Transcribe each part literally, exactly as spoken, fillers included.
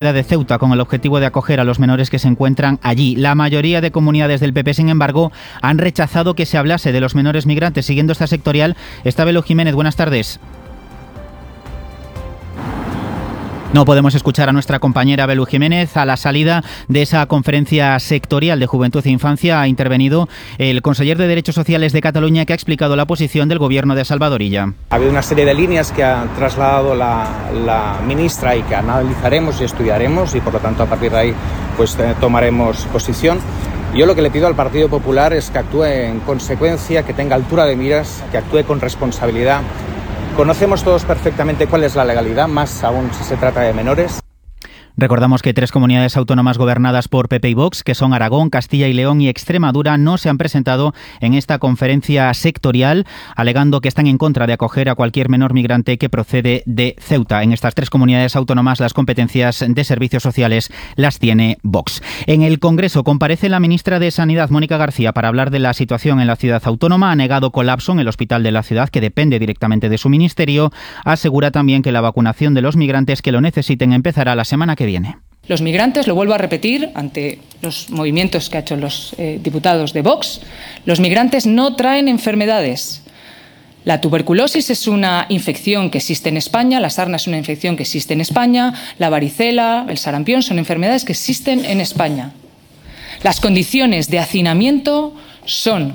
de Ceuta con el objetivo de acoger a los menores que se encuentran allí. La mayoría de comunidades del P P, sin embargo, han rechazado que se hablase de los menores migrantes. Siguiendo esta sectorial está Belu Jiménez. Buenas tardes. No podemos escuchar a nuestra compañera Belu Jiménez. A la salida de esa conferencia sectorial de Juventud e Infancia ha intervenido el conseller de Derechos Sociales de Cataluña, que ha explicado la posición del gobierno de Salvador Illa. Ha habido una serie de líneas que ha trasladado la, la ministra y que analizaremos y estudiaremos, y por lo tanto a partir de ahí pues eh, tomaremos posición. Yo lo que le pido al Partido Popular es que actúe en consecuencia, que tenga altura de miras, que actúe con responsabilidad. Conocemos todos perfectamente cuál es la legalidad, más aún si se trata de menores. Recordamos que tres comunidades autónomas gobernadas por P P y Vox, que son Aragón, Castilla y León y Extremadura, no se han presentado en esta conferencia sectorial, alegando que están en contra de acoger a cualquier menor migrante que procede de Ceuta. En estas tres comunidades autónomas las competencias de servicios sociales las tiene Vox. En el Congreso comparece la ministra de Sanidad, Mónica García, para hablar de la situación en la ciudad autónoma. Ha negado colapso en el hospital de la ciudad, que depende directamente de su ministerio. Asegura también que la vacunación de los migrantes que lo necesiten empezará la semana que viene. Viene. Los migrantes, lo vuelvo a repetir ante los movimientos que han hecho los eh, diputados de Vox, los migrantes no traen enfermedades. La tuberculosis es una infección que existe en España, la sarna es una infección que existe en España, la varicela, el sarampión son enfermedades que existen en España. Las condiciones de hacinamiento son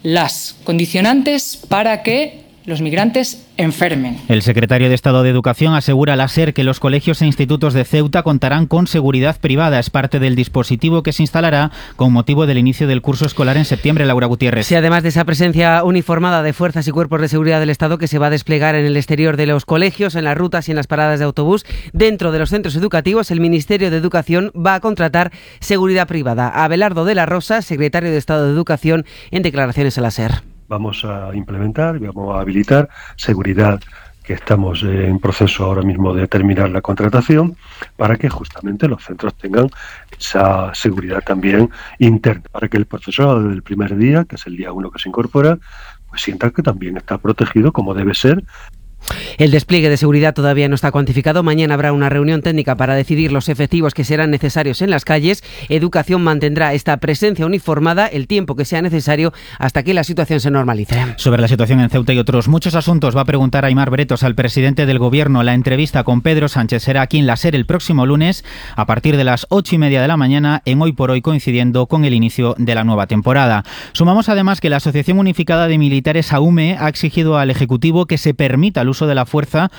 las condicionantes para que los migrantes enfermen. El secretario de Estado de Educación asegura a la SER que los colegios e institutos de Ceuta contarán con seguridad privada. Es parte del dispositivo que se instalará con motivo del inicio del curso escolar en septiembre. Laura Gutiérrez. Sí, además de esa presencia uniformada de fuerzas y cuerpos de seguridad del Estado que se va a desplegar en el exterior de los colegios, en las rutas y en las paradas de autobús, dentro de los centros educativos, el Ministerio de Educación va a contratar seguridad privada. Abelardo de la Rosa, secretario de Estado de Educación, en declaraciones a la SER. Vamos a implementar y vamos a habilitar seguridad, que estamos en proceso ahora mismo de terminar la contratación, para que justamente los centros tengan esa seguridad también interna, para que el profesorado desde el primer día, que es el día uno que se incorpora, pues sienta que también está protegido como debe ser. El despliegue de seguridad todavía no está cuantificado. Mañana habrá una reunión técnica para decidir los efectivos que serán necesarios en las calles. Educación mantendrá esta presencia uniformada el tiempo que sea necesario hasta que la situación se normalice. Sobre la situación en Ceuta y otros muchos asuntos va a preguntar Aimar Bretos al presidente del Gobierno. La entrevista con Pedro Sánchez será aquí en la SER el próximo lunes a partir de las ocho y media de la mañana, en Hoy por Hoy, coincidiendo con el inicio de la nueva temporada. Sumamos además que la Asociación Unificada de Militares, AUME, ha exigido al Ejecutivo que se permita el uso de la fuerza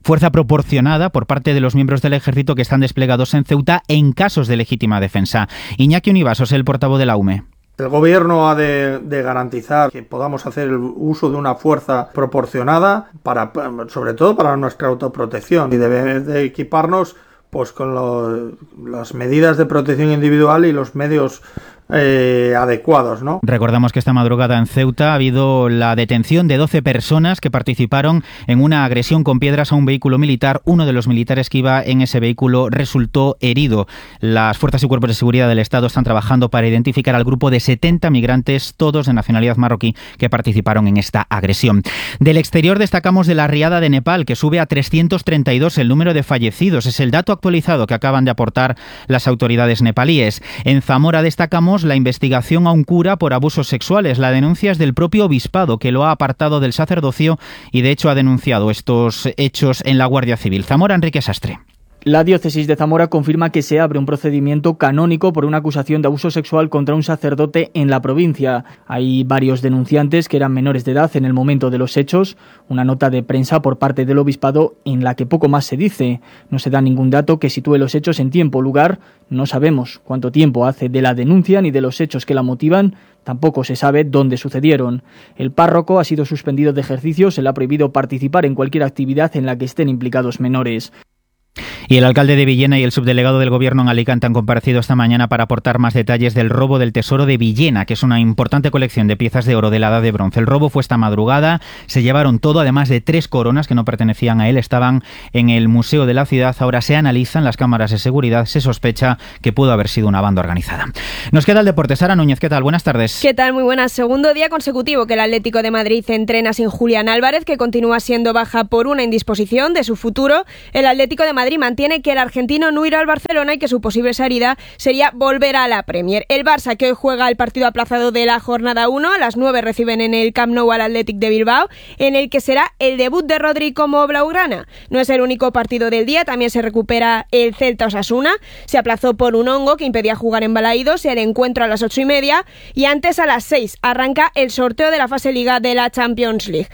fuerza proporcionada por parte de los miembros del Ejército que están desplegados en Ceuta en casos de legítima defensa. Iñaki Univasos, el portavoz de la AUME. El Gobierno ha de, de garantizar que podamos hacer el uso de una fuerza proporcionada, para, sobre todo para nuestra autoprotección, y debe de equiparnos pues con lo, las medidas de protección individual y los medios Eh, adecuados, ¿no? Recordamos que esta madrugada en Ceuta ha habido la detención de doce personas que participaron en una agresión con piedras a un vehículo militar. Uno de los militares que iba en ese vehículo resultó herido. Las fuerzas y cuerpos de seguridad del Estado están trabajando para identificar al grupo de setenta migrantes, todos de nacionalidad marroquí, que participaron en esta agresión. Del exterior destacamos de la riada de Nepal, que sube a trescientos treinta y dos el número de fallecidos. Es el dato actualizado que acaban de aportar las autoridades nepalíes. En Zamora destacamos la investigación a un cura por abusos sexuales. La denuncia es del propio obispado, que lo ha apartado del sacerdocio y de hecho ha denunciado estos hechos en la Guardia Civil. Zamora, Enrique Sastre. La diócesis de Zamora confirma que se abre un procedimiento canónico por una acusación de abuso sexual contra un sacerdote en la provincia. Hay varios denunciantes que eran menores de edad en el momento de los hechos. Una nota de prensa por parte del obispado en la que poco más se dice. No se da ningún dato que sitúe los hechos en tiempo o lugar. No sabemos cuánto tiempo hace de la denuncia ni de los hechos que la motivan. Tampoco se sabe dónde sucedieron. El párroco ha sido suspendido de ejercicio. Se le ha prohibido participar en cualquier actividad en la que estén implicados menores. Y el alcalde de Villena y el subdelegado del Gobierno en Alicante han comparecido esta mañana para aportar más detalles del robo del tesoro de Villena, que es una importante colección de piezas de oro de la Edad de Bronce. El robo fue esta madrugada, se llevaron todo, además de tres coronas que no pertenecían a él, estaban en el Museo de la Ciudad. Ahora se analizan las cámaras de seguridad, se sospecha que pudo haber sido una banda organizada. Nos queda el deporte. Sara Núñez, ¿qué tal? Buenas tardes. ¿Qué tal? Muy buenas. Segundo día consecutivo que el Atlético de Madrid entrena sin Julián Álvarez, que continúa siendo baja por una indisposición de su futuro. El Atlético de Madrid Madrid mantiene que el argentino no irá al Barcelona y que su posible salida sería volver a la Premier. El Barça, que hoy juega el partido aplazado de la jornada uno, a las nueve reciben en el Camp Nou al Athletic de Bilbao, en el que será el debut de Rodri como blaugrana. No es el único partido del día, también se recupera el Celta Osasuna. Se aplazó por un hongo que impedía jugar en Balaídos, el encuentro a las ocho y media, y antes a las seis arranca el sorteo de la fase Liga de la Champions League.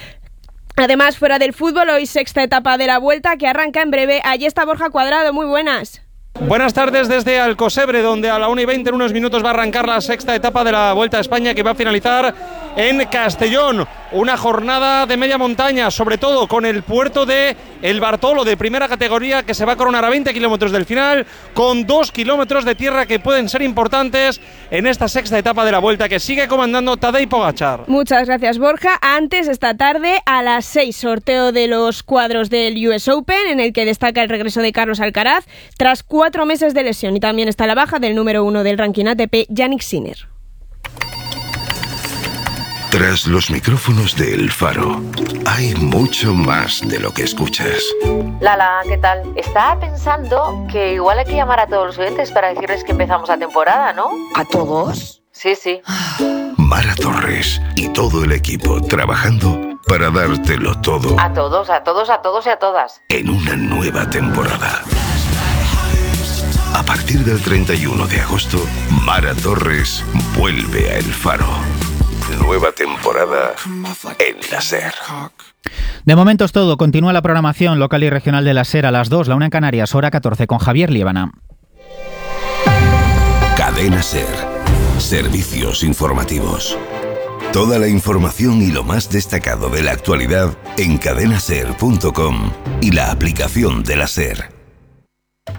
Además, fuera del fútbol, hoy sexta etapa de la Vuelta que arranca en breve. Allí está Borja Cuadrado, muy buenas. Buenas tardes desde Alcosebre, donde a la una y veinte en unos minutos va a arrancar la sexta etapa de la Vuelta a España, que va a finalizar en Castellón. Una jornada de media montaña, sobre todo con el puerto de El Bartolo, de primera categoría, que se va a coronar a veinte kilómetros del final, con dos kilómetros de tierra que pueden ser importantes en esta sexta etapa de la Vuelta, que sigue comandando Tadej Pogačar. Muchas gracias, Borja. Antes, esta tarde, a las seis, sorteo de los cuadros del U S Open, en el que destaca el regreso de Carlos Alcaraz, tras cuatro meses de lesión, y también está la baja del número uno del ranking A T P, Jannik Sinner. Tras los micrófonos de El Faro, hay mucho más de lo que escuchas. Lala, ¿qué tal? Estaba pensando que igual hay que llamar a todos los oyentes para decirles que empezamos la temporada, ¿no? ¿A todos? Sí, sí. Mara Torres y todo el equipo trabajando para dártelo todo. A todos, a todos, a todos y a todas. En una nueva temporada. A partir del treinta y uno de agosto, Mara Torres vuelve a El Faro. Nueva temporada en la SER. De momento es todo. Continúa la programación local y regional de la SER a las dos, la una en Canarias, hora catorce, con Javier Liébana. Cadena SER. Servicios informativos. Toda la información y lo más destacado de la actualidad en cadena ser punto com y la aplicación de la SER.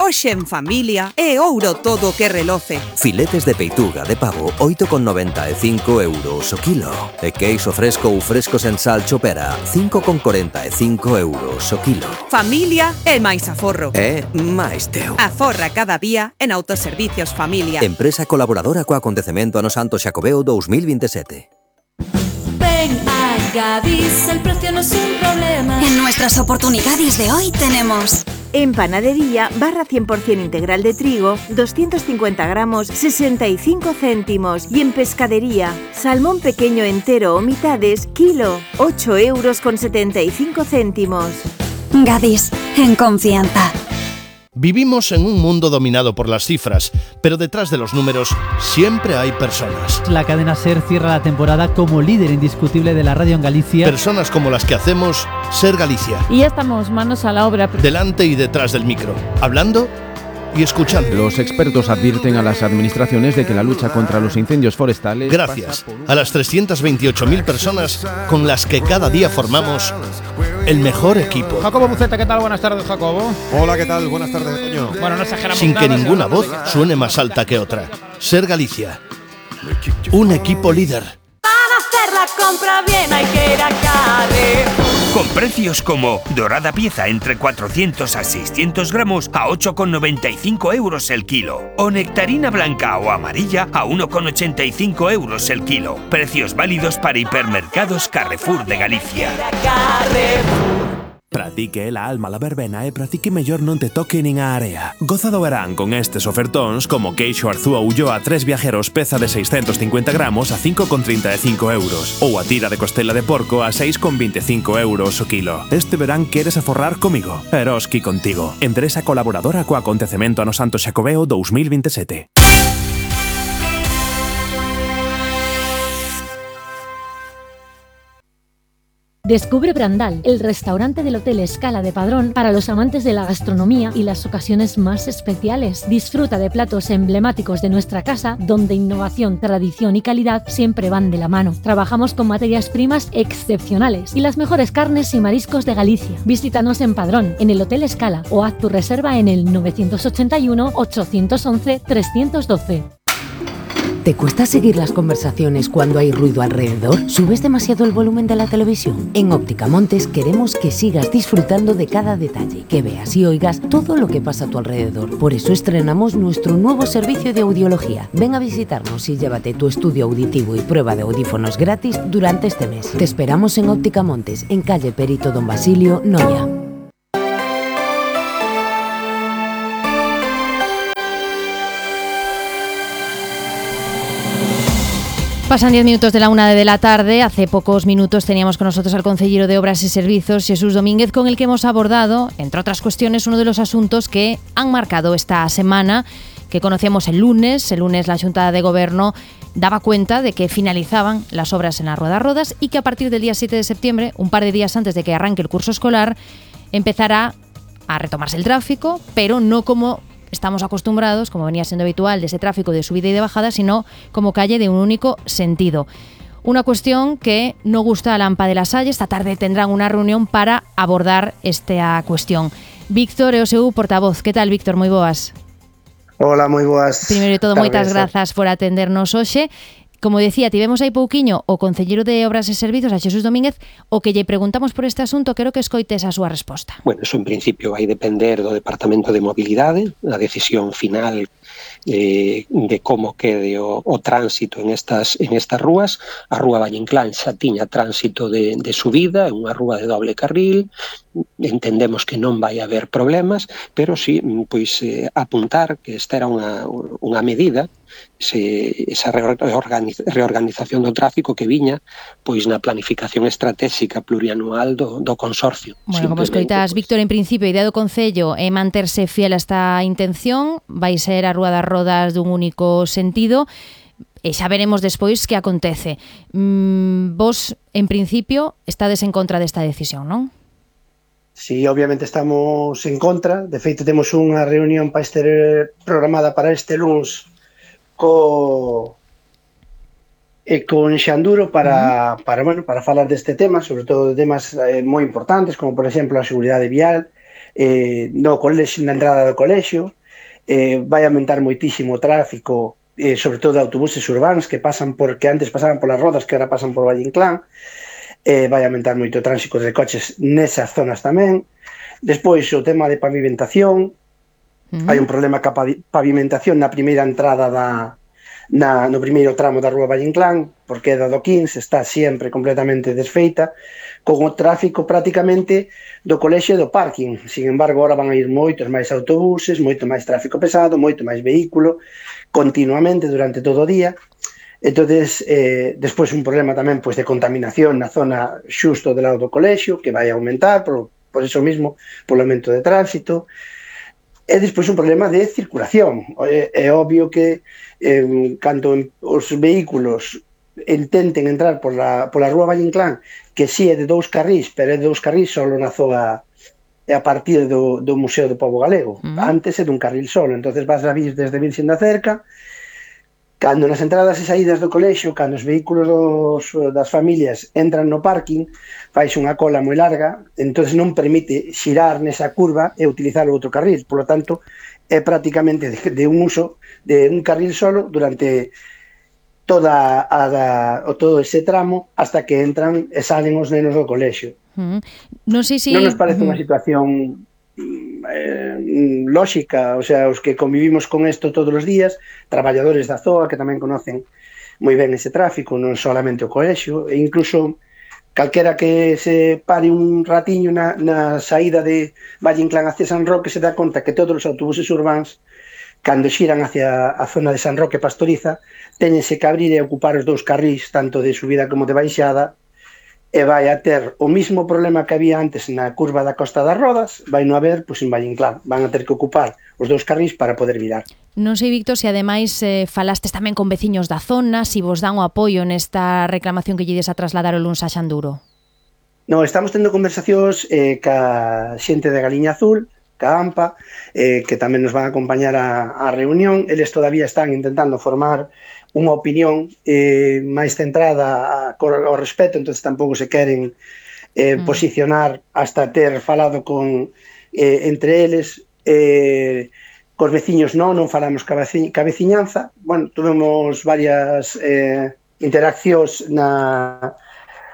Hoxe en familia é ouro todo que reloce. Filetes de peituga de pavo oito con noventa e cinco euros o kilo. E queixo fresco ou fresco sen sal chopera cinco con corenta e cinco euros o kilo. Familia é máis aforro. É máis teu. Aforra cada día en Autoservicios Familia. Empresa colaboradora co acontecemento Ano Santo Xacobeo dos mil veintisiete. Ven a Gadis, el precio no es un problema. En nuestras oportunidades de hoy tenemos... En panadería, barra cien por ciento integral de trigo, doscientos cincuenta gramos, sesenta y cinco céntimos. Y en pescadería, salmón pequeño entero o mitades, kilo, ocho euros con setenta y cinco céntimos. Gadis, en confianza. Vivimos en un mundo dominado por las cifras, pero detrás de los números siempre hay personas. La cadena SER cierra la temporada como líder indiscutible de la radio en Galicia. Personas como las que hacemos SER Galicia. Y ya estamos manos a la obra. Delante y detrás del micro, hablando y escuchando. Los expertos advierten a las administraciones de que la lucha contra los incendios forestales... Gracias a las trescientas veintiocho mil personas con las que cada día formamos el mejor equipo. Jacobo Buceta, ¿qué tal? Buenas tardes, Jacobo. Hola, ¿qué tal? Buenas tardes, Toño. Bueno, no exageramos Sin nada, que ninguna voz suene más alta que otra. SER Galicia. Un equipo líder. Para hacer la compra bien hay que ir a Carrefour. Con precios como dorada pieza entre cuatrocientos a seiscientos gramos a ocho con noventa y cinco euros el kilo. O nectarina blanca o amarilla a uno con ochenta y cinco euros el kilo. Precios válidos para hipermercados Carrefour de Galicia. Pratique la alma la verbena e pratique mellor non te toque nin a area. Goza do verán con estes ofertóns como queixo Arzúa Ulloa tres viajeros peza de seiscientos cincuenta gramos a cinco con treinta e cinco euros ou a tira de costela de porco a seis con veinticinco euros o kilo. Este verán queres aforrar comigo? Eroski contigo. Empresa colaboradora co acontecemento Ano Santo Xacobeo dos mil veintisiete. Descubre Brandal, el restaurante del Hotel Escala de Padrón para los amantes de la gastronomía y las ocasiones más especiales. Disfruta de platos emblemáticos de nuestra casa, donde innovación, tradición y calidad siempre van de la mano. Trabajamos con materias primas excepcionales y las mejores carnes y mariscos de Galicia. Visítanos en Padrón, en el Hotel Escala, o haz tu reserva en el nueve ocho uno, ocho once, tres uno dos. ¿Te cuesta seguir las conversaciones cuando hay ruido alrededor? ¿Subes demasiado el volumen de la televisión? En Óptica Montes queremos que sigas disfrutando de cada detalle, que veas y oigas todo lo que pasa a tu alrededor. Por eso estrenamos nuestro nuevo servicio de audiología. Ven a visitarnos y llévate tu estudio auditivo y prueba de audífonos gratis durante este mes. Te esperamos en Óptica Montes, en calle Perito Don Basilio, Noia. Pasan diez minutos de la una de la tarde. Hace pocos minutos teníamos con nosotros al concejero de Obras y Servicios, Jesús Domínguez, con el que hemos abordado, entre otras cuestiones, uno de los asuntos que han marcado esta semana, que conocíamos el lunes. El lunes la Xunta de Gobierno daba cuenta de que finalizaban las obras en la Rueda Rodas y que a partir del día siete de septiembre, un par de días antes de que arranque el curso escolar, empezará a retomarse el tráfico, pero no como estamos acostumbrados, como venía siendo habitual, de ese tráfico de subida y de bajada, sino como calle de un único sentido. Una cuestión que no gusta a la AMPA de La Salle. Esta tarde tendrán una reunión para abordar esta cuestión. Víctor, E O S U, portavoz. ¿Qué tal, Víctor? Moi boas. Hola, moi boas. Primeiro de todo, moitas grazas por atendernos hoxe. Como decía, tivemos aí pouquiño o concelleiro de Obras e Servizos, a Jesús Domínguez, o que lle preguntamos por este asunto, quero que escoites a súa resposta. Bueno, eso en principio vai depender do Departamento de Mobilidade, a decisión final eh, de como quede o, o tránsito en estas en estas rúas. A Rúa Valle Inclán xa tiña tránsito de, de subida, é unha rúa de doble carril, entendemos que non vai haber problemas, pero sí, pois eh, apuntar que esta era unha, unha medida, se, esa reorganiz, reorganización do tráfico que viña pois na planificación estratégica plurianual do, do consorcio. Bueno, como escoitas, Víctor, en principio, a idea do Concello é manterse fiel a esta intención, vai ser a Rúa das Rodas dun único sentido, e xa veremos despois que acontece. Mm, vos, en principio, estades en contra desta decisión, non? Sí, obviamente estamos en contra. De feito, temos unha reunión para este programada para este luns co e con Xanduro para, uh-huh. para, bueno, para falar deste tema, sobre todo de temas eh, moi importantes, como por exemplo a seguridade vial, eh, no colexio, na entrada do colexio, eh, vai aumentar moitísimo o tráfico, eh, sobre todo de autobuses urbanos que pasan por, que antes pasaban polas Rodas, que agora pasan por Valle Inclán, eh, vai aumentar moito o tránsito de coches nesas zonas tamén. Despois o tema de pavimentación, uh-huh. hai un problema ca pavimentación na primeira entrada da Na, no primeiro tramo da Rúa Valle Inclán, porque a do quince está sempre completamente desfeita, con o tráfico prácticamente do colexio e do parking. Sin embargo, ahora van a ir moitos máis autobuses, moito máis tráfico pesado, moito máis vehículo, continuamente durante todo o día. Entonces, eh, despois un problema tamén pois, de contaminación na zona xusto do lado do colexio, que vai aumentar por, por eso mismo, polo aumento de tránsito. E despois un problema de circulación. É, é obvio que eh, cando os vehículos intenten entrar por la, por la Rúa Valle Inclán, que si é de dous carrís, pero é de dous carrís solo na zona a partir do, do Museo do Pobo Galego. Uh-huh. Antes é dun carril solo, entonces vas a vir desde Virxen da Cerca. Cando nas entradas e saídas do colexio, cando os vehículos dos, das familias entran no parking, fais unha cola moi larga, entonces non permite xirar nesa curva e utilizar o outro carril. Por lo tanto, é prácticamente de, de un uso de un carril solo durante toda a, a, todo ese tramo hasta que entran e salen os nenos do colexio. Uh-huh. Non sei si... Non nos parece uh-huh. unha situación eh, lóxica, o sea, os que convivimos con isto todos os días, traballadores da Z O A que tamén conocen moi ben ese tráfico, non solamente o colexio, e incluso calquera que se pare un ratiño na, na saída de Valle Inclán hacia San Roque se dá conta que todos os autobuses urbáns, cando xiran hacia a zona de San Roque Pastoriza, teñense que abrir e ocupar os dous carrís, tanto de subida como de baixada, e vai a ter o mismo problema que había antes na curva da Costa das Rodas, vai non haber, pois en Valle Inclán, van a ter que ocupar os dous carrís para poder virar. Non sei, Víctor, se ademais eh, falastes tamén con veciños da zona, si vos dan o apoio nesta reclamación que lle des a trasladar o luns a Xanduro. No, estamos tendo conversacións eh, ca xente de Galiña Azul, ca AMPA, eh, que tamén nos van a acompañar a, a reunión. Eles todavía están intentando formar unha opinión eh, máis centrada ao respecto, entonces tampouco se queren eh, mm. posicionar hasta ter falado con eh, entre eles. Eh, cos veciños non, non falamos ca, veci, ca veciñanza. Bueno, tuvemos varias eh, interaccións na,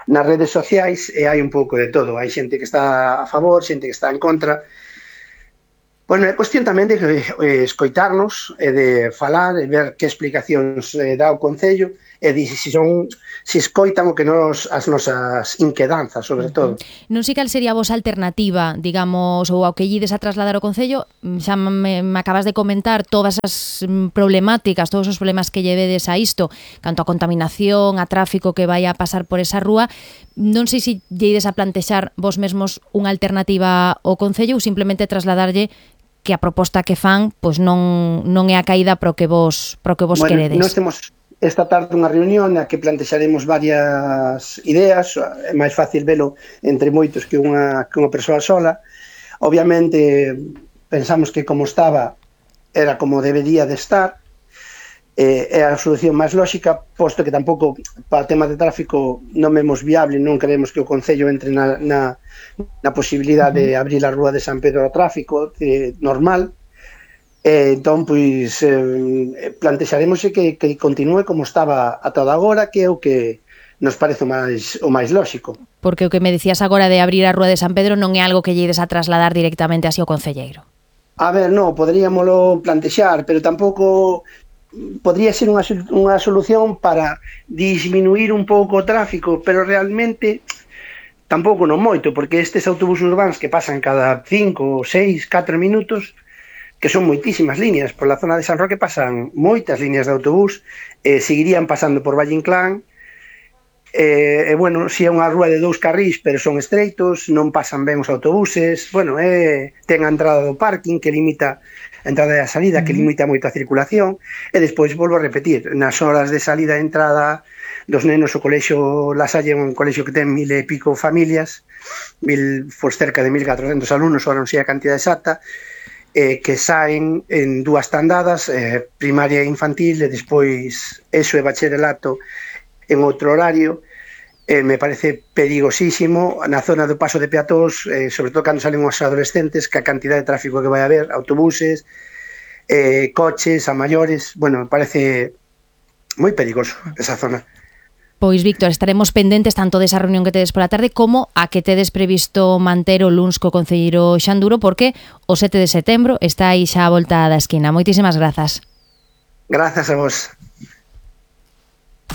nas redes sociais e hai un pouco de todo. Hai xente que está a favor, xente que está en contra. Bueno, é cuestión tamén de eh, escoitarnos e de falar e ver que explicacións eh, dá o Concello e di se son se escoitan o que nos as nosas inquedanzas, sobre todo. Non sei cal sería a vosa alternativa, digamos, ou ao que llides a trasladar ao Concello. Xa me, me acabas de comentar todas as problemáticas, todos os problemas que llevedes a isto, canto a contaminación, a tráfico que vai a pasar por esa rúa. Non sei se lledes a plantexar vos mesmos unha alternativa ao Concello ou simplemente trasladarlle que a proposta que fan pois non non é a caída pro que vos pro que vos bueno, queredes. Nós temos esta tarde unha reunión na que plantexaremos varias ideas. É máis fácil velo entre moitos que unha que unha persoa sola. Obviamente pensamos que como estaba era como debería de estar. Eh, é a solución máis lógica, posto que tampouco para tema de tráfico non vemos viable, non queremos que o Concello entre na, na, na posibilidade de abrir a rúa de San Pedro ao tráfico eh, normal. Eh, entón, pois, eh, plantexaremos que, que continúe como estaba ata agora, que é o que nos parece o máis, o máis lógico. Porque o que me dicías agora de abrir a rúa de San Pedro non é algo que lledes a trasladar directamente así ao concelleiro. A ver, non, poderíamolo plantexar, pero tampouco podría ser unha, unha solución para disminuir un pouco o tráfico, pero realmente tampouco non moito, porque estes autobuses urbanos que pasan cada cinco, seis, catro minutos, que son moitísimas líneas, por la zona de San Roque pasan moitas líneas de autobús, eh, seguirían pasando por Valle Inclán, e, eh, bueno, si é unha rúa de dous carrís, pero son estreitos, non pasan ben os autobuses, bueno, eh, ten a entrada do parking que limita a entrada e a salida, que limita moito a circulación, e despois volvo a repetir, nas horas de salida e entrada dos nenos o colexo La Salle, un colexo que ten mil e pico familias, mil, por cerca de mil catrocentos alumnos, ahora non sei a cantidad exacta, eh, que saen en dúas tandadas, eh, primaria e infantil, e despois eso e bacharelato en outro horario. Eh, me parece perigosísimo na zona do paso de peatóns, eh, sobre todo cando salen os adolescentes, que a cantidad de tráfico que vai haber, autobuses, eh, coches, a maiores, bueno, me parece moi perigoso esa zona. Pois, Víctor, estaremos pendentes tanto desa reunión que tedes pola tarde como a que tedes previsto manter o luns co concelleiro Xanduro, porque o sete de setembro está aí xa a volta da esquina. Moitísimas grazas. Grazas a vos.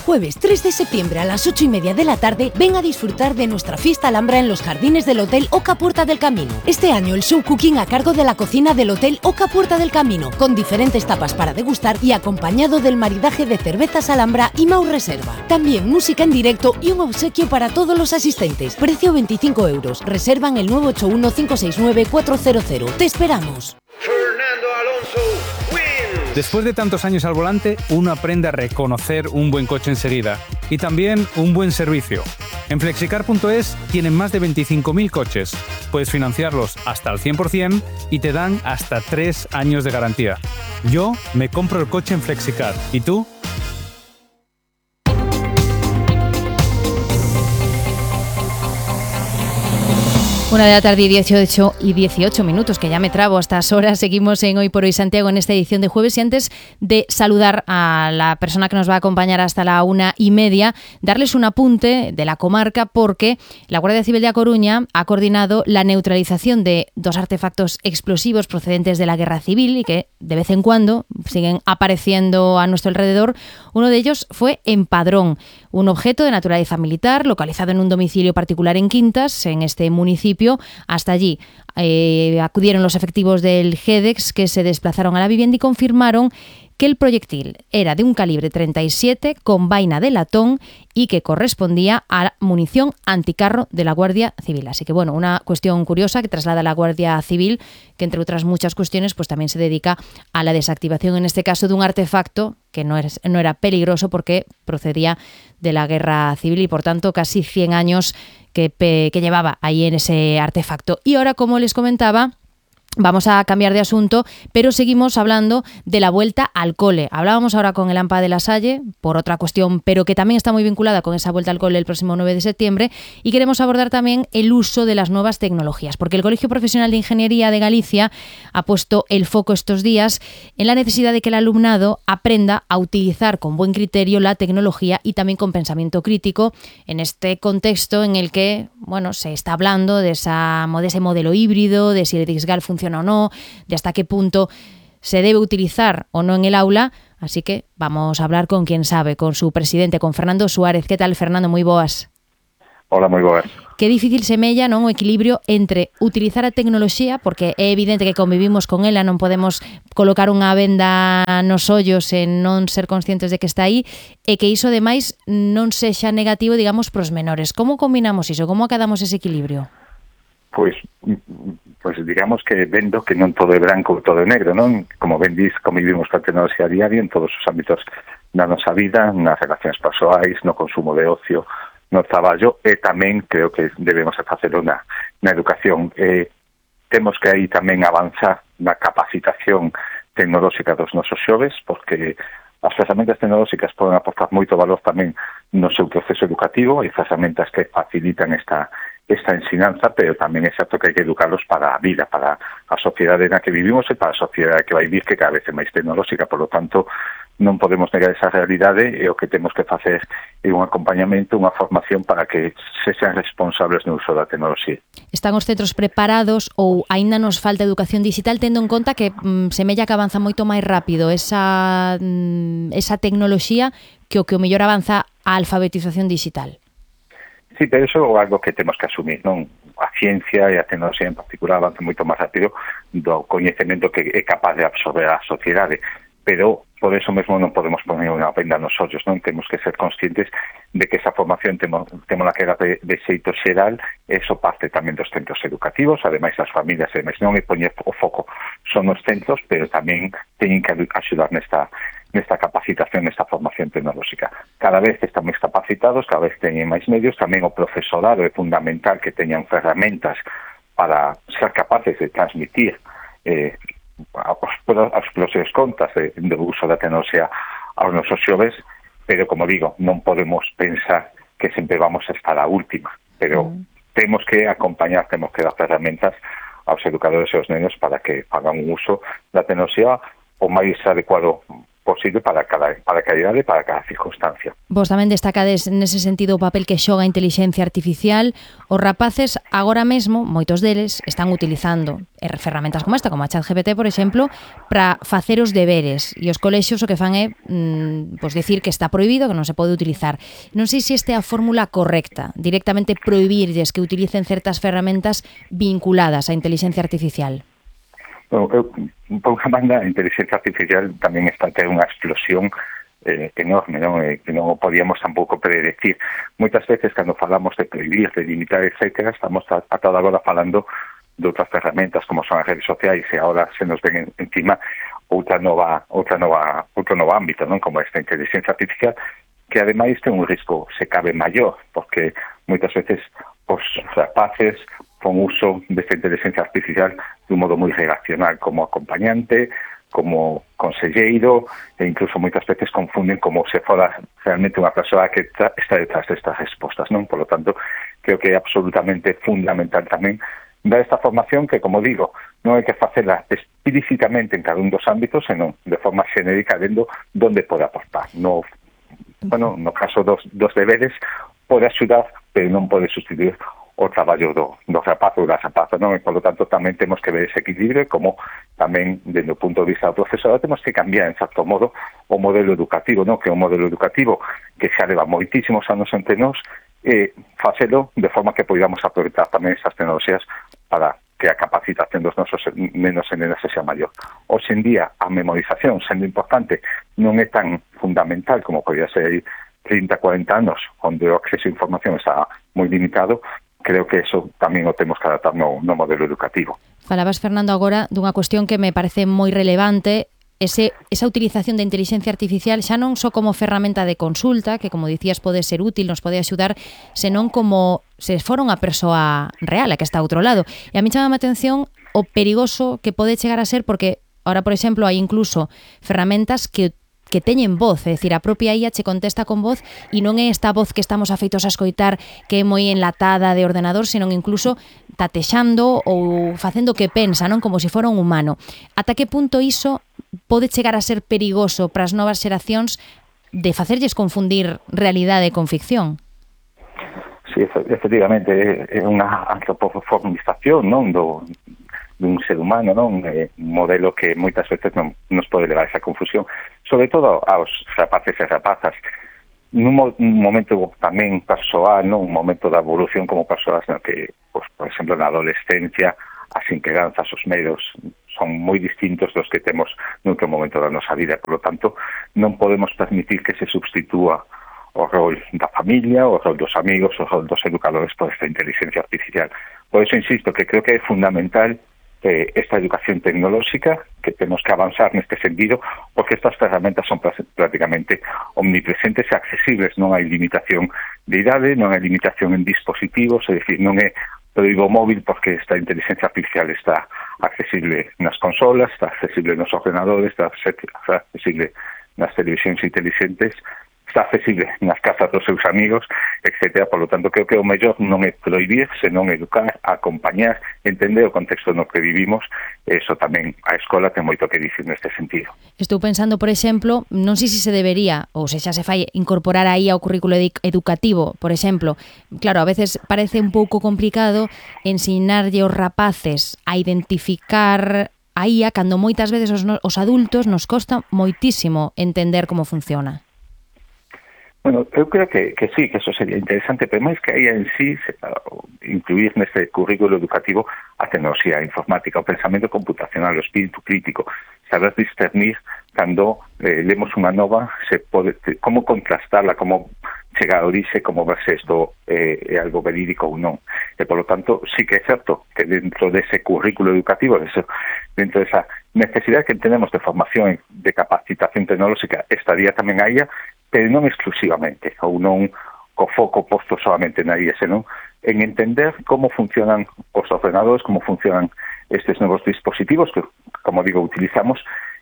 Jueves tres de septiembre a las ocho y media de la tarde, ven a disfrutar de nuestra fiesta Alhambra en los jardines del Hotel Oca Puerta del Camino. Este año el show cooking a cargo de la cocina del Hotel Oca Puerta del Camino, con diferentes tapas para degustar y acompañado del maridaje de cervezas Alhambra y Mau Reserva. También música en directo y un obsequio para todos los asistentes. Precio veinticinco euros. Reservan el nueve ocho uno cinco seis nueve cuatro cero cero. Te esperamos. Fernando Alonso. Después de tantos años al volante, uno aprende a reconocer un buen coche enseguida y también un buen servicio. En flexicar punto es tienen más de veinticinco mil coches. Puedes financiarlos hasta al cien por ciento y te dan hasta tres años de garantía. Yo me compro el coche en Flexicar. ¿Y tú? Una de la tarde y dieciocho y dieciocho minutos, que ya me trabo a estas horas. Seguimos en Hoy por Hoy Santiago en esta edición de jueves, y antes de saludar a la persona que nos va a acompañar hasta la una y media, darles un apunte de la comarca, porque la Guardia Civil de A Coruña ha coordinado la neutralización de dos artefactos explosivos procedentes de la Guerra Civil y que de vez en cuando siguen apareciendo a nuestro alrededor. Uno de ellos fue en Padrón, un objeto de naturaleza militar localizado en un domicilio particular en Quintas, en este municipio. Hasta allí eh, acudieron los efectivos del GEDEX, que se desplazaron a la vivienda y confirmaron que el proyectil era de un calibre treinta y siete con vaina de latón y que correspondía a munición anticarro de la Guardia Civil. Así que, bueno, una cuestión curiosa que traslada la Guardia Civil, que entre otras muchas cuestiones pues también se dedica a la desactivación, en este caso, de un artefacto que no era, no era peligroso porque procedía de la Guerra Civil y, por tanto, casi cien años que, que llevaba ahí en ese artefacto. Y ahora, como les comentaba, vamos a cambiar de asunto, pero seguimos hablando de la vuelta al cole. Hablábamos ahora con el AMPA de La Salle por otra cuestión, pero que también está muy vinculada con esa vuelta al cole el próximo nueve de septiembre, y queremos abordar también el uso de las nuevas tecnologías, porque el Colegio Profesional de Ingeniería de Galicia ha puesto el foco estos días en la necesidad de que el alumnado aprenda a utilizar con buen criterio la tecnología y también con pensamiento crítico en este contexto en el que, bueno, se está hablando de, esa, de ese modelo híbrido, de si el DISGAL funciona o no, de hasta qué punto se debe utilizar o no en el aula. Así que vamos a hablar con quien sabe, con su presidente, con Fernando Suárez. Que tal, Fernando? Moi boas. Hola, moi boas. Que difícil semella, non, o equilibrio entre utilizar a tecnoloxía, porque é evidente que convivimos con ela, non podemos colocar unha venda nos ollos e non ser conscientes de que está aí, e que iso, ademais, non sexa negativo, digamos, pros menores. Como combinamos iso? Como acadamos ese equilibrio? Pois, pois digamos que vendo que non todo é branco ou todo é negro, non? Como ben dis, convivimos con a tecnoloxía diaria en todos os ámbitos da nosa vida, nas relacións persoais, no consumo de ocio, no traballo, e tamén creo que debemos facelo na, na educación. Eh, temos que aí tamén avanzar na capacitación tecnolóxica dos nosos xoves, porque as ferramentas tecnolóxicas poden aportar moito valor tamén no seu proceso educativo, e ferramentas que facilitan esta esta ensinanza, pero tamén é certo que hai que educarlos para a vida, para a sociedade na que vivimos e para a sociedade que vai vir, que cada vez é máis tecnolóxica. Por lo tanto, non podemos negar esa realidade, e o que temos que facer é un acompañamento, unha formación para que se sean responsables no uso da tecnoloxía. Están os centros preparados ou aínda nos falta educación digital, tendo en conta que mm, semella que avanza moito máis rápido esa, mm, esa tecnoloxía que o que o mellor avanza a alfabetización digital? Sí, pero iso é algo que temos que asumir, non? A ciencia e a tecnoloxía en particular avanza moito máis rápido do coñecemento que é capaz de absorber a sociedade, pero por eso mesmo non podemos poner unha venda nos ollos, non? Temos que ser conscientes de que esa formación temos, temos que dar de, de xeito xeral, eso parte tamén dos centros educativos, ademais das familias, ademais non é poñer o foco son os centros, pero tamén teñen que axudar nesta nesta capacitación, nesta formación tecnolóxica. Cada vez están máis capacitados, cada vez teñen máis medios, tamén o profesorado é fundamental que teñan ferramentas para ser capaces de transmitir eh, as propias contas de, do uso da tecnoloxía aos nosos xoves, pero, como digo, non podemos pensar que sempre vamos a estar a última, pero mm. temos que acompañar, temos que dar ferramentas aos educadores e aos nenos para que fagan un uso da tecnoloxía o máis adecuado posible para cada, para cada idade e para cada circunstancia. Vos tamén destacades nese sentido o papel que xoga a inteligencia artificial. Os rapaces agora mesmo, moitos deles, están utilizando ferramentas como esta, como a ChatGPT, por exemplo, para facer os deberes, e os colexios o que fan é mmm, pues decir que está prohibido, que non se pode utilizar. Non sei se esta é a fórmula correcta, directamente prohibirlles que utilicen certas ferramentas vinculadas á inteligencia artificial. Bueno, eu, por unha banda, a inteligencia artificial tamén está a ter unha explosión eh, enorme, non? Eh, que non o podíamos tampouco predecir. Moitas veces, cando falamos de prohibir, de limitar, etcétera, estamos a, a toda agora falando de outras ferramentas como son as redes sociais, e agora se nos ven en, encima outra nova, outra nova, outro novo ámbito, non? Como esta inteligencia artificial, que ademais ten un risco, se cabe, maior, porque moitas veces os rapaces con uso desta inteligencia artificial de un modo moi relacional, como acompañante, como conselleiro, e incluso moitas veces confunden como se fora realmente unha persoa que está detrás destas respostas, non? Por lo tanto, creo que é absolutamente fundamental tamén dar esta formación que, como digo, non hai que facela explícitamente en cada un dos ámbitos, senón de forma xenérica, vendo onde pode aportar. No, bueno, no caso dos, dos deberes, pode axudar, pero non pode sustituir o traballo do, do rapazo ou da rapaza, non? E, por lo tanto, tamén temos que ver ese equilibrio, como tamén, desde o punto de vista do profesorado, temos que cambiar, en certo modo, o modelo educativo, non? Que é un modelo educativo que xa leva moitísimos anos entre nós, e facelo de forma que podamos aproveitar tamén esas tecnoloxías para que a capacitación dos nosos nenos e nenas sexa maior. Hoxe en día, a memorización, sendo importante, non é tan fundamental como podía ser trinta, cuarenta anos, onde o acceso a información está moi limitado. Creo que eso tamén o temos que adaptar no, no modelo educativo. Falabas, Fernando, agora dunha cuestión que me parece moi relevante, ese, esa utilización da inteligencia artificial xa non só como ferramenta de consulta, que, como dicías, pode ser útil, nos pode axudar, senón como se fora unha persoa real, a que está a outro lado. E a mí chama a atención o perigoso que pode chegar a ser, porque ahora, por exemplo, hai incluso ferramentas que que teñen voz, é dicir, a propia I A che contesta con voz, e non é esta voz que estamos afeitos a escoitar que é moi enlatada de ordenador, senón incluso tatexando ou facendo que pensa, non? Como se fora un humano. Ata que punto iso pode chegar a ser perigoso para as novas xeracións de facerlles confundir realidade con ficción? Sí, efectivamente, é unha antropoformización, non, do dun ser humano, non? Eh, un modelo que moitas veces non nos pode levar a esa confusión. sobre todo aos rapaces e rapazas, nun mo un momento tamén persoal, non? Un momento da evolución como persoas no que, pues, por exemplo, na adolescencia, as inquedanzas, os medos son moi distintos dos que temos noutro momento da nosa vida. Por lo tanto, non podemos permitir que se substitúa o rol da familia, o rol dos amigos, o rol dos educadores por esta inteligencia artificial. Por eso insisto que creo que é fundamental eh, esta educación tecnolóxica, que temos que avanzar neste sentido, porque estas ferramentas son prácticamente omnipresentes e accesibles, non hai limitación de idade, non hai limitación en dispositivos, é dicir, non é proíbo móvil porque esta inteligencia artificial está accesible nas consolas, está accesible nos ordenadores, está accesible nas televisións inteligentes, está accesible nas casas dos seus amigos, etcétera. Por lo tanto, creo que o mellor non é prohibir, senón educar, acompañar, entender o contexto no que vivimos. Eso tamén a escola ten moito que dicir neste sentido. Estou pensando, por exemplo, non sei se se debería, ou se xa se fai, incorporar aí ao currículo educativo, por exemplo. Claro, a veces parece un pouco complicado ensinarlle aos rapaces a identificar a I A cando moitas veces os, os adultos nos costa moitísimo entender como funciona. Bueno, eu creo que, que sí, que eso sería interesante, pero máis que aí en sí, se, uh, incluir neste currículo educativo a tecnoloxía informática, o pensamento computacional, o espírito crítico, saber discernir cando eh, lemos unha nova, se pode, como contrastarla, como chegar a orixe, como ver se isto eh, é algo verídico ou non. E, por lo tanto, sí que é certo que dentro dese currículo educativo, dentro desa necesidade que tenemos de formación, de capacitación tecnolóxica, estaría tamén a I A, pero non exclusivamente, ou non co foco posto solamente na I A, senón en entender como funcionan os ordenadores, como funcionan estes novos dispositivos que, como digo, utilizamos,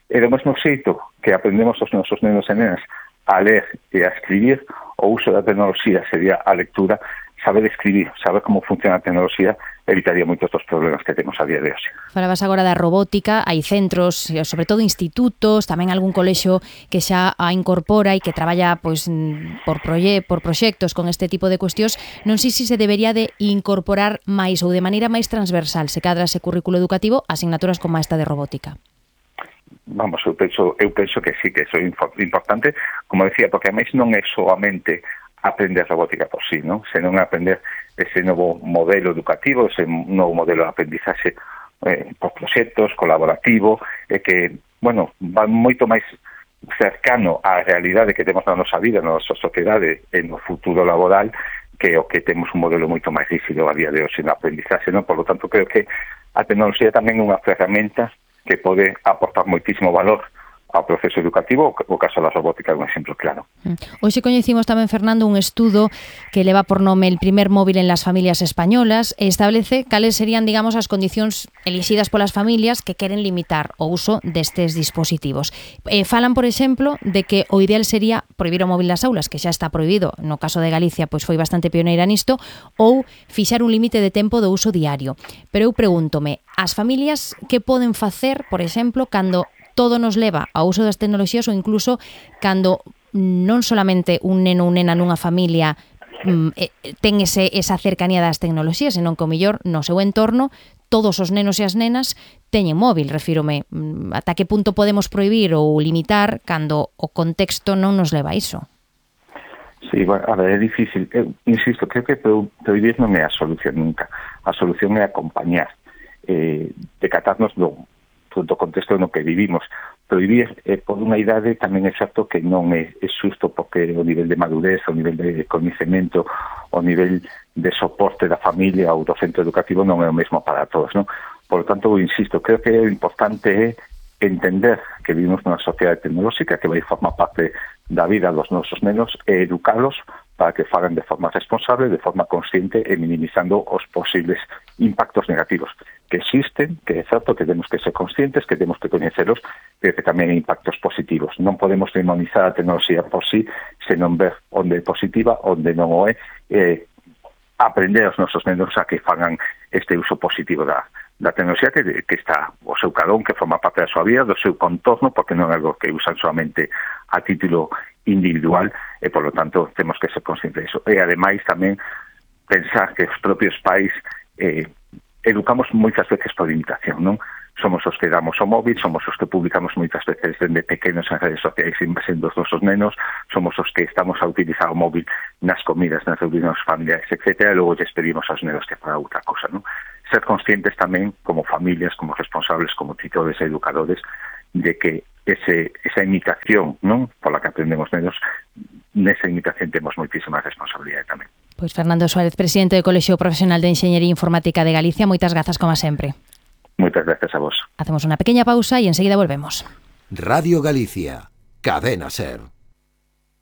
e do mesmo xeito que aprendemos os nosos nenos e nenas a ler e a escribir, o uso da tecnoloxía sería a lectura, saber escribir, saber como funciona a tecnoloxía, evitaría moitos dos problemas que temos a día de hoxe. Falabas agora da robótica, hai centros, sobre todo institutos, tamén algún colexio que xa a incorpora e que traballa pois por proye por proxectos con este tipo de cuestións. Non sei se se debería de incorporar máis ou de maneira máis transversal, se cadra ese currículo educativo, asignaturas como esta de robótica. Vamos, eu penso, eu penso que sí, que iso é importante, como decía, porque a máis non é solamente aprender robótica por sí, non? Senón aprender ese novo modelo educativo, ese novo modelo de aprendizaxe eh, por proxectos, colaborativo, e que, bueno, va moito máis cercano á realidade que temos na nosa vida, na nosa sociedade, e no futuro laboral, que o que temos un modelo moito máis rígido a día de hoxe no aprendizaxe, non? Por lo tanto, creo que a tecnoloxía tamén é unha ferramenta que pode aportar moitísimo valor ao proceso educativo, o caso da robótica é un exemplo claro. Hoxe coñecimos tamén, Fernando, un estudo que leva por nome El primer móvil en las familias españolas e establece cales serían, digamos, as condicións elixidas polas familias que queren limitar o uso destes dispositivos. Eh, falan, por exemplo, de que o ideal sería prohibir o móvil nas aulas, que xa está prohibido, no caso de Galicia, pois foi bastante pioneira nisto, ou fixar un límite de tempo do uso diario. Pero eu pregúntome, as familias que poden facer, por exemplo, cando todo nos leva ao uso das tecnoloxías ou incluso cando non solamente un neno ou nena nunha familia mm, ten ese, esa cercanía das tecnoloxías, senón que o mellor no seu entorno todos os nenos e as nenas teñen móvil, refírome. Ata que punto podemos prohibir ou limitar cando o contexto non nos leva a iso? Sí, bueno, a ver, é difícil. Eu insisto, creo que prohibir non é a solución nunca. A solución é acompañar, eh, decatarnos do do contexto no que vivimos. Prohibir eh, por unha idade tamén é certo que non é, é xusto porque o nivel de madurez, o nivel de coñecemento, o nivel de soporte da familia ou do centro educativo non é o mesmo para todos, non? Por lo tanto, insisto, creo que o importante é entender que vivimos nunha sociedade tecnolóxica que vai formar parte da vida dos nosos nenos e educalos para que fagan de forma responsable, de forma consciente e minimizando os posibles impactos negativos que existen, que é certo que temos que ser conscientes, que temos que coñecelos, pero que tamén hai impactos positivos. Non podemos demonizar a tecnoloxía por sí, senón ver onde é positiva, onde non o é, eh, aprender aos nosos nenos a que fagan este uso positivo da, da tecnoloxía que, que está o seu cadón, que forma parte da súa vida, do seu contorno, porque non é algo que usan solamente a título individual, e, por lo tanto, temos que ser conscientes de iso. E, ademais, tamén pensar que os propios pais eh, educamos moitas veces por imitación, non? somos os que damos o móvil, somos os que publicamos moitas veces dende pequenos en redes sociais invasendo os nosos nenos, somos os que estamos a utilizar o móvil nas comidas, nas reunións familiares, etcétera, e logo lles pedimos aos nenos que fagan outra cosa, non? Ser conscientes tamén, como familias, como responsables, como tutores e educadores, de que ese, esa imitación, non, pola que aprendemos nenos, nesa imitación temos moitísima responsabilidade tamén. Pois Fernando Suárez, presidente do Colexio Profesional de Enxeñería Informática de Galicia, moitas grazas como sempre. Moitas gracias a vos. Hacemos unha pequeña pausa e enseguida volvemos. Radio Galicia, Cadena Ser.